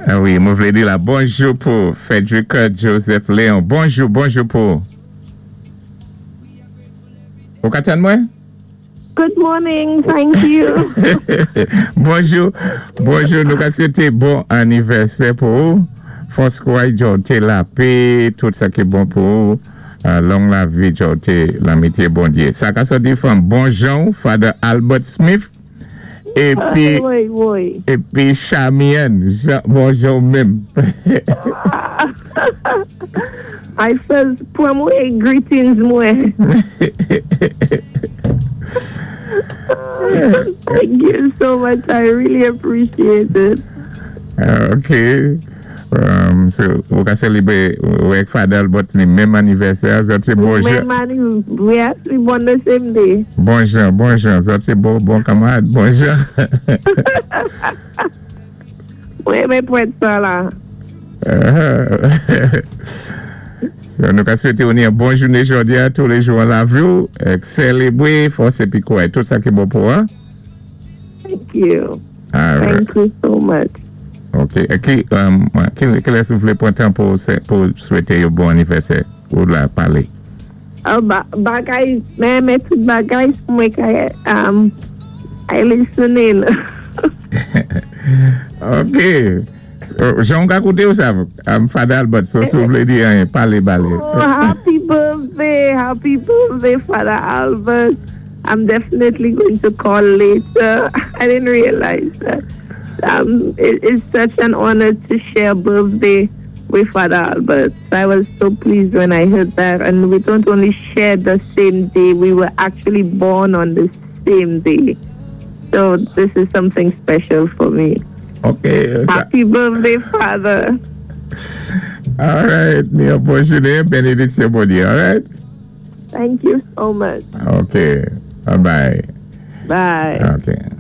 Wi, mwen vlé di la bonjou pou Frederick Joseph Léon. Bonjou, bonjou pou. Ou ka tann mwen? Good morning, thank you. Bonjou, bonjou. Nou ka swété bon anivèsè pou ou. Fòs kouray djòté, lapè, tout sa ki bon pou ou. Long lavi djòté, lanmityé Bondyé. Sa ka sòti from bon jan, Father Albert Smith. Épi, Wi. Épi Charmian, bon jan menm. I first pwan mwen greetings mwen. Thank you so much. I really appreciate it. Ok. So, ou ka sélébwé avèk Father Albert ni menm anivèsè, zòt sé bon jan. Menm yes, we born the same day. Bon jan, bon jan, zòt sé bon, bon kanmarad, bon jan. Wi, men pou sa la. So, nou ka swété ou ni yon bon jouné jòdi a, tou lé jou an lavi ou, sélébwé, fòs épi kouray, tout sa ki bon pou an. Thank you. All right. Thank you so much. Ok, ki lès ou vlé pwan tan pou swété yo bon anivèsè ou la palé? Oh, bagay, men tout bagay mwen ka I listening. Ok. So, jan ka kouté ou sa, Father Albert, so si ou vlé di anyen, palé balé. Oh, happy birthday, happy birthday, Father Albert. I'm definitely going to call later. I didn't realize that. It's such an honor to share birthday with Father Albert. I was so pleased when I heard that. And we don't only share the same day, we were actually born on the same day. So this is something special for me. Ok. Happy birthday, Father. All right. Ni yon bon jouné, bénédiksyon Bondyé, all right? Thank you so much. Ok. Bye-bye. Bye. Ok.